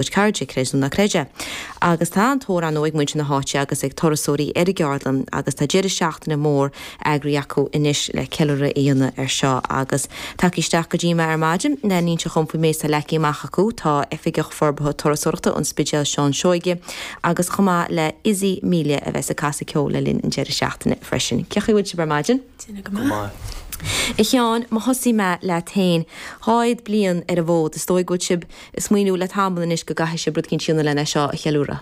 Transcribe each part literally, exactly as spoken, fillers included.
gcuid cairde, creid nó ná creid é. Agus tá an-tóir ar ndóigh ag muintir na háite agus ag turasóirí ar an gceardlann agus tá deireadh seachtaine mór eagraithe acu anois le ceiliúradh a dhéanamh ar seo agus tagtha isteach go dtí mé ar maidin le n-inse dhom faoin méid atá leagtha amach acu tá Oifigeach Forbartha Turasóireachta an Spidéil Seán Seoige agus chomh maith le Izzy Melia a bheas ag casadh ceoil le linn an deireadh seachtaine freisin. Cén chaoi a bhfuil sibh ar maidin? Go maith. A Sheáin, má thosaím leat féin, dhá fhichead bliain ar an bhfód, is dóigh go bhfuil sibh ag smaoineamh le tamall anois go gcaithfidh sibh rud éicint a dhéanamh lena seo a cheiliúradh.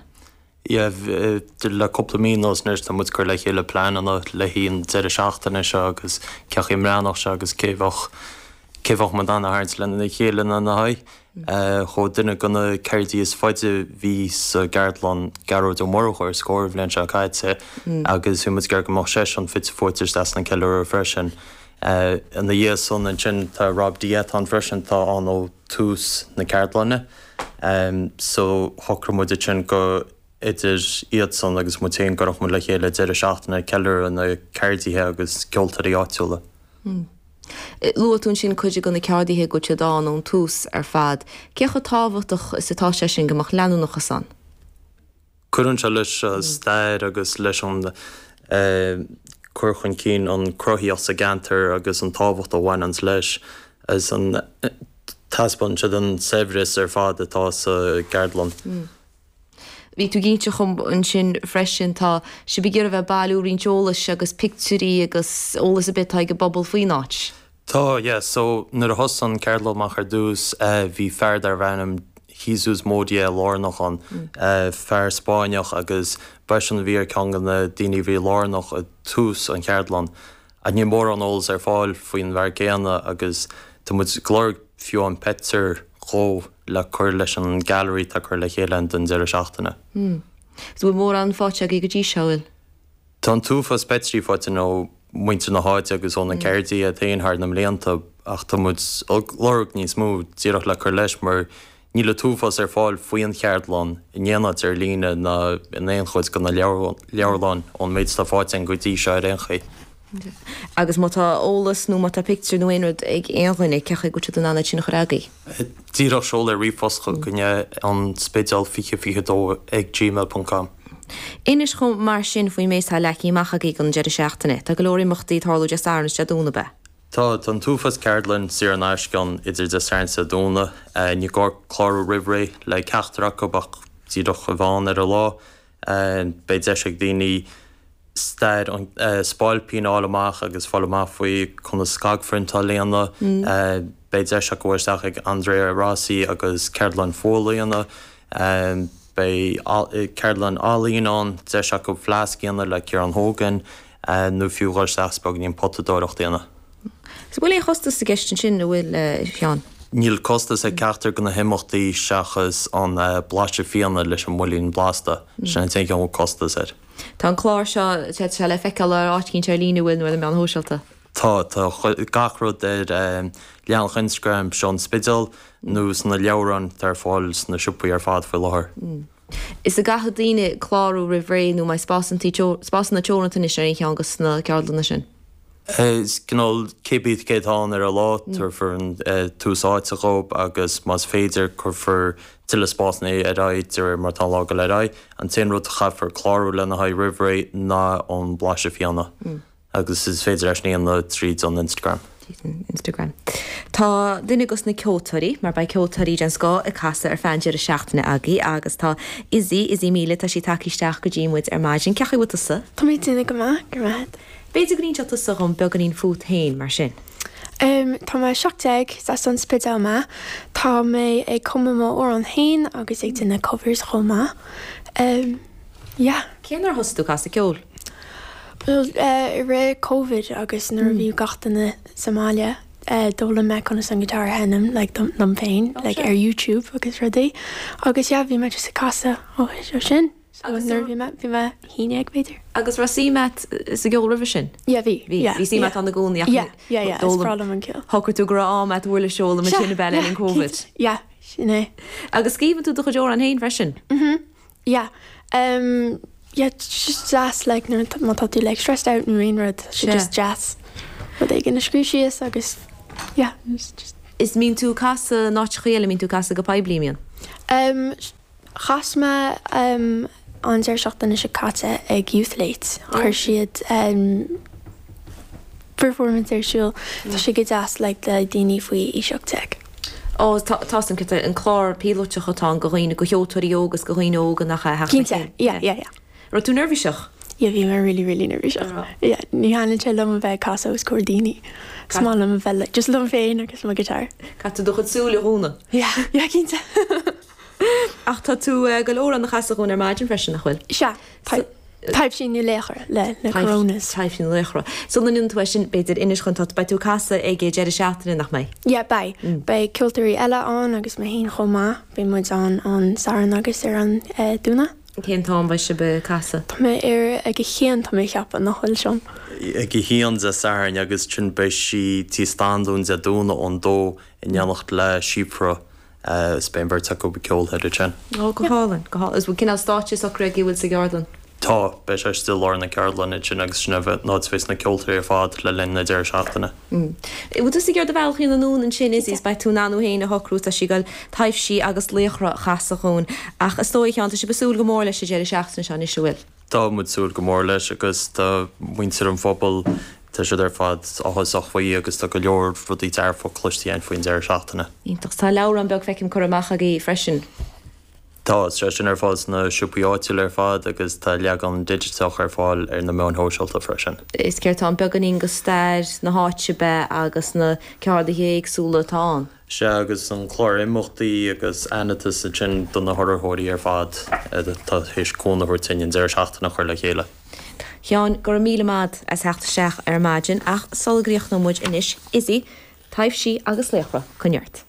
Yeah, le cúpla mí anuas anois tá muid ag cur le chéile pleananna le haghaidh an deireadh seachtaine seo agus cén chaoi a mbreathnódh sé agus cé bheadh cé bheadh muid in ann a tharraingt lena chéile lena haghaidh. Chuaigh duine de na ceardaithe is faide a bhí sa gceardlann Gearóid Ó Murchú ar scor an bhliain seo caite agus bhí muid ag iarraidh go mbeadh seisean fite fuaite isteach sna ceiliúradh freisin. Ina dhiaidh san ansin tá Rob Diet ann freisin tá ann ó tús na ceardlainne. So shocraigh muid ansin go idir iadsan agus muid féin go gcuirfeadh muid le chéile deireadh seachtaine ag ceiliúradh na ceardaithe agus ceoltóirí áitiúla. Luaigh tú ansin cuid de na ceardaithe go bhfuil siad ann ón tús ar fad. Cé chomh tábhachtach is atá sé sin go mbeadh leanúnachas ann? Cuireann sé leis an stair agus leis an cur chun cinn an cruthaitheacht sa gceantar agus an tábhacht a bhaineanns leis agus an taispeánann siad an saibhreas ar fad atá sa gceardlann. Bhí tú ag inse dhom ansin freisin, tá sibh ag iarraidh a bheith ag bailiú roinnt eolais agus pictiúirí agus eolas ar bith atá ag an bpobal faoin áit. Tá, yeah. So nuair a thosaigh an ceardlann amach ar dtús bhí fear darbh ainm Jesus Modia lárnach ann, fear Spáinneach agus b'eisean a bhí ar ceann de na daoine a bhí lárnach i dtús an cheardlann. Ach níl mórán eolas ar fáil faoin bhfear céanna agus tá muid ag lorg fiú amháin pictiúr dhó le cur leis an gallery atá curtha le chéile don deireadh seachtaine. So bhfuil mórán faighte agaibh go dtí seo, bhfuil? Tá an t-uafás pictiúirí faighte ó mhuintir na háite agus ó na ceardaithe iad féin thar na mblianta ach tá muid ag lorg níos mó díreach le cur leis mar níl an t-uafás ar fáil faoin cheardlann in aon áit ar líne ná in aon chuid de na leabharlanna ón méid atá faighte againn go dtí seo ar aon chaoi. Agus má tá eolas nó má tá pictiúr nó aon rud ag aon dhuine, cén chaoi go bhfuil siad in ann iad sin a chur agaibh? Díreach seoladh ríomhphost chugainne an Spidéal fiche fiche dó ag gmail ponc com. Inis dhom mar sin faoin méid atá leagtha amach agaibh don deireadh seachtaine. Tá go leor imeachtaí ag tarlú Dé Sathairn is Dé Domhnaigh, ab ea? Tá, tá an t-uafás ceardlann saor in aisce ann idir Dé Sathairn is Dé Domhnaigh. Ní gá clárú roimh ré le ceachtar acu ach díreach a bheith ann ar an lá. Beidh deis ag daoine stair an Spailpín a fháil amach agus fáil amach faoi conas scagphriontáil a dhéanamh. Beidh deis acu dul isteach ag Andrea Rossi agus ceardlann fuála a dhéanamh. Beidh ceardlann ealaíne ann, deis acu fleasc a dhéanamh le Ciarán Hogan nó fiú dhul isteach is beagáinín potadóireacht a dhéanamh. An bhfuil aon chostas i gceist ansin, an bhfuil, a Sheáin? Níl costas ag ceachtar de na himeachtaí seachas an blaiseadh fíona leis an mBuilín Blasta. Sin an t-aon cheann a bhfuil costas air. Tá an clár seo, tá sé le feiceáil ar áit éicint ar líne, an bhfuil, nó ar na meáin shóisialta? Tá, tá gach rud ar leathanach Instagram seo an Spidéal nó sna leabhráin atá ar fáil sna siopaí ar fad faoi láthair. Is an gcaithfidh daoine clárú roimh ré nó an mbeidh spásanna teoranta anois ar aon cheann de na ceardlanna sin? Is cineál cé bith cé atá ann ar an lá, tabharfar an tús áite dhóibh agus más féidir cuirfear tuilleadh spásanna ar aghaidh de réir mar atá an lá ag dul ar aghaidh. An t-aon rud a chaithfear clárú lena haghaidh roimh ré ná an blaiseadh fíona. Agus is féidir é sin a dhéanamh tríd an Instagram. Tríd an Instagram. Tá duine dos na ceoltóirí, mar beidh ceoltóirí den scoth ag casadh ar feadh an deireadh seachtaine agaibh agus tá Izzy, Izzy Melia, tá sí tagtha isteach go dtí muid ar maidin. Cén chaoi a bhfuil tusa? Tá mé ag déanamh go maith, go raibh maith agat. B'fhéidir go n-inseodh tusa dhom beagáinín fút féin mar sin. Em, tá mé seacht déag, is as an Spidéal mé. Tá mé ag cumadh mo amhrán féin agus ag déanamh covers chomh maith. Em, yeah. Cén uair a thosaigh tú ag casadh ceoil? Bhuel, eh, i rith Covid agus nuair a bhí gach duine sa mbaile, eh, d'fhoghlaim mé conas an guitar a sheinm, like, dom, liom féin, like, ar YouTube agus rudaí. Agus yeah, bhí mé just ag casadh ó, ó sin. So nuair a bhí mé, bhí mé haon déag b'fhéidir. Agus raibh suim agat sa gceol roimhe sin? Yeah, bhí. Bhí. Yeah, Bhí suim yeah. agat ann i gcónaí ach Yeah, yeah, yeah, is d'fhoghlaim- breá liom an ceol. Shocraigh tú go raibh am agat uirlis a fhoghlaim Sea, ansin ab ea le yeah, linn Covid. cinnte. Yeah, sin é. Agus scríobhann tú do chuid amhrán féin freisin? Mhm. Yeah. Um, yeah, it's just deas like nuair atá- má tá tú like stressed out nó aon rud, tá sé Sea. just deas rud éigin a scríobh síos agus yeah, it's just Is mbíonn tú ag casadh in áiteachaí eile, mbíonn tú ag casadh go poiblí, mbíonn? Um, chas mé um, an deireadh seachtaine seo caite ag Youth Late. Chuir siad um, performance ar siúl Tá sé go deas like, le daoine faoi aois ocht déag. Ó tá an an clár píolótach atá go dhaoine go cheoltóirí óga agus go dhaoine óga nach Cinnte, yeah, yeah, yeah. Raibh tú neirbhíseach? Yeah, bhí mé really really neirbhíseach. Yeah, ní thaitníonn sé liom a bheith casadh os comhair daoine. Is maith liom a bheith like, just liom féin agus mo guitar. Caithfidh tú do chuid súile a dhúnadh. Yeah, yeah, cinnte. Ach tá tú eh, go leor an chasadh ar maidin freisin nach bhfuil. Sea, Taibhsí nó Laochra le le Coronas. Taibhsí nó Laochra. Sula ndéanann tú sin b'fhéidir inis chun tá beidh tú casadh ag deireadh seachtaine nach mbeidh. Yeah, beidh. Mm. Beidh ceoltóirí eile ann agus mé féin chomh maith, beidh muid ann an Satharn agus ar an eh, Domhnach. Cén t-am beidh sibh ag casadh? Tá mé ar ag a haon tá mé ceapadh nach bhfuil sin. Ag a haon Dé Sathairn agus ansin beidh sí tí Standún Dé Domhnaigh ón dó in éineacht le Síofra is beidh an bheirt acu ag ceol thoir ansin. Ó go hálainn, go hálainn. Is bhfuil cineál stáitse socraithe agaibh bhfuil sa gceardlann? Tá, beidh sé istigh i lár na ceardlainne ansin agus sin an áit a bheas na ceoltóirí ar fad le linn na deireadh seachtaine. Bhfuil tú ag ar do bhealach anonn ansin is is beidh tú in ann thú féin a shocrú tá sí ag goil taibhsí agus laochra a chasadh dhúinn ach is dóigh Sheáin tá sibh ag súil go mór leis an deireadh seachtaine seo anois an bhfuil? Tá muid súil go mór leis agus tá muintir an phobail tá siad ar fad áthasach faoi agus tá go leor rudaí dearfa cloiste againn faoin deireadh seachtaine. Iontach. Tá leabhrán beag feicim curtha amach agaibh freisin. Tá sé sin ar fáil sna siopaí áitiúla ar fad agus tá leagan digiteach ar fáil ar na meáin shóisialta freisin. Is céard tá ann beagáinín de stair na háite ab ea agus na ceardaithe éagsúla atá ann. Sea agus an clár imeachtaí agus aitheantas ansin do na hurraitheoirí ar fad atá théis cúnamh a thabhairt dúinn an deireadh seachtaine a chur le chéile. Sheáin, go raibh míle maith as theacht isteach ar maidin ach sula gcríochnóidh muid anois, Izzy, taibhsí agus laochra, coinnigh ort.